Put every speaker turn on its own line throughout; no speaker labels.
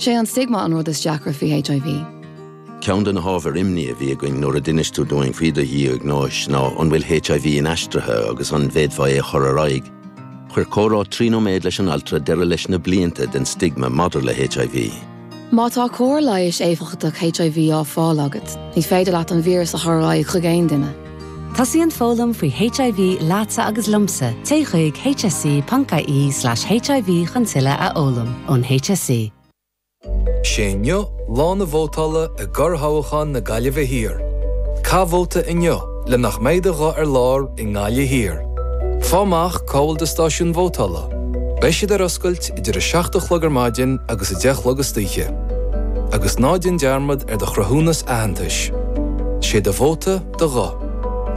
Sé an stigma an rud is deacra faoi HIV.
Ceann de na hábhair imní a bhí againn nuair a d'inis tú dúinn faoi do dhiagnóis ná an bhfuil HIV inaistrithe agus an bhféadfá é a chur ar aghaidh. Chuir comhrá 3 nóiméad leis an altra deireadh leis na blianta den stigma maidir le HIV.
Má tá cóir leighis éifeachtach HIV á fáil agat, ní féidir leat an víreas a chur ar aghaidh chuig aon duine.
Tosaíonn foghlaim faoi HIV leatsa agus liomsa, téigh chuig hse.ie/hiv chun tuilleadh a fhoghlaim ón HSE.
'Sé inniu lá na vótála i gcorrthoghchán na Gaillimhe Thiar. Caith vóta inniu le nach mbeidh do ghuth ar lár i nGaillimh Thiar. Fáigh amach cá bhfuil do stáisiún vótála. Beidh siad ar oscailt idir 7 a chlog ar maidin agus 10 a chlog istoíche. Agus ná déan dearmad ar do chruthúnas aitheantais. 'Sé do vóta, do ghuth.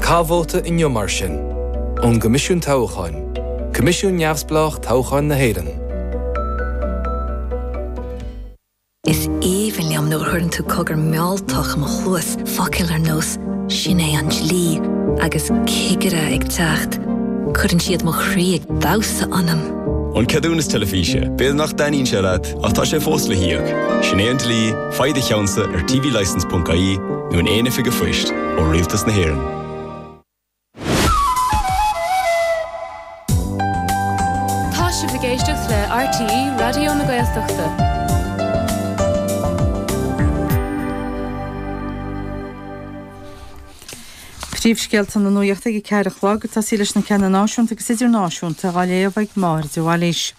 Caith vóta inniu mar sin. Ón gCoimisiún Toghcháin, Coimisiún Neamhspleách Toghcháin na hÉireann.
Is aoibhinn liom nuair a chuireann tú cogar mealltach i mo chluas, focail ar nós 'sin é an dlí' agus 'cigire ag teacht'. Cuireann siad mo chroí ag damhsa ionam.
An ceadúnas teilifíse, b'fhéidir nach dtaitníonn sé leat, ach tá sé fós le híoc. Sin é an dlí, faigh do cheannsa ar tvlicence.ie nó in aon oifig an phoist, ó Rialtas na hÉireann.
Tá sibh ag éisteacht le RTÉ Raidió na Gaeltachta.
Príomhscéalta na nuachta ag a 4 a chlog, ag tosaí leis na ceanna náisiúnta agus idirnáisiúnta á léamh ag Máire de Bhailís.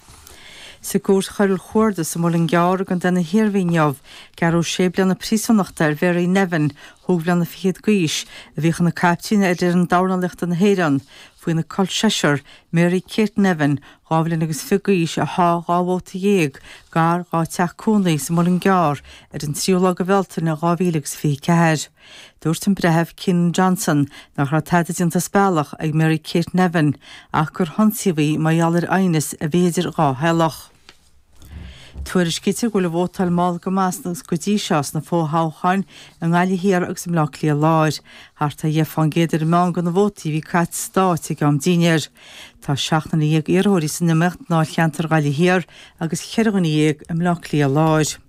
Sa gCúirt Choiriúil Chuarda sa Mhuileann gCearr i gContae na hIarmhí inniu, gearradh sé bliana príosúnachta ar Mhary Nevin, chúig bhliana fichead d'aois, a bhíodh ina caiptín ar fhoireann dornálaíochta na hÉireann, faoina col seisear, Mary Kate Nevin, 22 bhliain agus d'aois, a sháigh 12 bhóta gar dhá teach cónaí sa Mhuileann gCearr ar an tríú lá de Bhealtaine 2024. Dúirt an Breitheamh Kiernan Johnson nach raibh tada déanta as bealach ag Mary Kate Nevin ach gur hionsaíodh í mar gheall ar aighneas a bhí idir dhá theaghlach. Tuairiscítear go bhfuil an vótáil mall go maith go dtí seo sna fo-thoghcháin i nGaillimh Thiar agus i mBleá Cliath Láir. Thart ar 10 fán gcéad ar an meán de na vótaí a bhí caite sa stát ag am dinnéir. Tá 17 nduine iarrthóirí san iomaíocht i ndáilcheantar Ghaillimh Thiar agus 14 dhuine i mBleá Cliath Láir.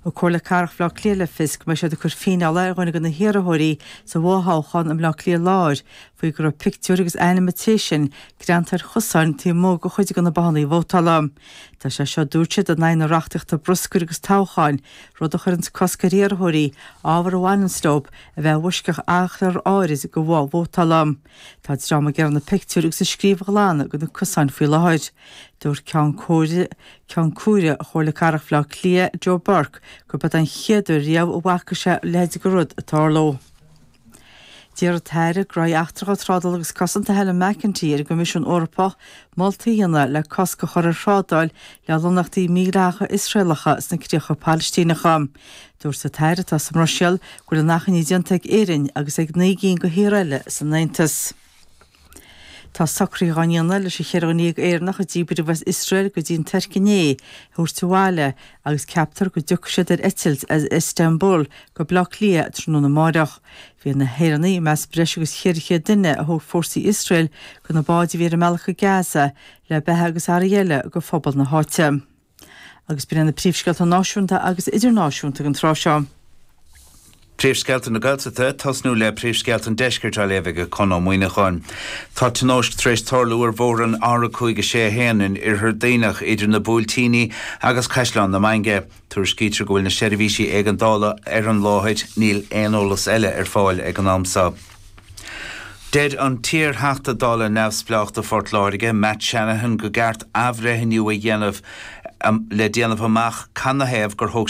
Thug Comhairle Cathrach Bhaile Átha Cliath le fios go mbeidh siad ag cur fíneála ar dhuine de na hiarrthóirí sa bhfothoghchán i mBleá Cliath Láir faoi go raibh pictiúr agus ainm an té sin greanta ar chosáin taobh amuigh de chuid de na bothanna vótála. Tá sé seo, dúirt siad, in aghaidh na reachtaíochta bruscair agus toghcháin, rud a chuireanns cosc ar iarrthóirí ábhar a bhaineanns leo a bheith i bhfoisceacht achar áirid de bhoth vótála. Tá dream ag iarraidh na pictiúir agus an scríobh a ghlanadh de na cosáin faoi láthair. Dúirt Ceann Comhairle Ceann Comhairle Chomhairle Cathrach Bhaile Átha Cliath, Joe Burke, gurb é an chéad uair riamh a bhfaca sé a leithéid de rud ag tarlú. D'iarr an tAire Gnóthaí Eachtracha, Trádála agus Cosanta Helen McEntee ar an gCoimisiún Eorpach moltaí a dhéanamh le cosc a chur ar thrádáil le lonnaíochtaí mídhleathacha Iosraelacha sna críocha Palaistíneacha. Dúirt an tAire, atá sa mBruiséil, go bhfuil an achainí déanta ag Éirinn agus ag 9 gcinn de thíortha eile san Aontas. Tá socruithe á ndéanamh leis an cheithre dhuine dhéag Éireannach a díbríodh as Iosrael go dtí an Tuirc inné a thabhairt abhaile agus ceaptar go dtiocfaidh siad ar eitilt as Istanbul go Baile Átha Cliath tráthnóna amáireach. Bhí na hÉireannaigh i measc breis agus 400 duine a thóg fórsaí Iosrael de na báid a bhí ar a mbealach go Gaza le beatha agus earraí eile do phobal na háite. Agus b'in iad na príomhscéalta náisiúnta agus idirnáisiúnta ag an tráth seo.
Príomhscéalta na Gaeltachta, tosnú le príomhscéalta an Deiscirt á léamh ag Conn Ó Muíneacháin. Tá tionóisc tar éis tarlú ar bhóthar an R561 in Oirthear Duibhneach idir na Buailtíní agus Caisleán na Mainge. Tuairiscítear go bhfuil na seirbhísí éigeandála ar an láthair. Níl aon eolas eile ar fáil ag an am seo. Deir an t-iar-Theachta Dála neamhspleách do Phort Láirge, Matt Shanahan, go gceart athbhreithniú a dhéanamh le déanamh amach canathaobh gur thóg.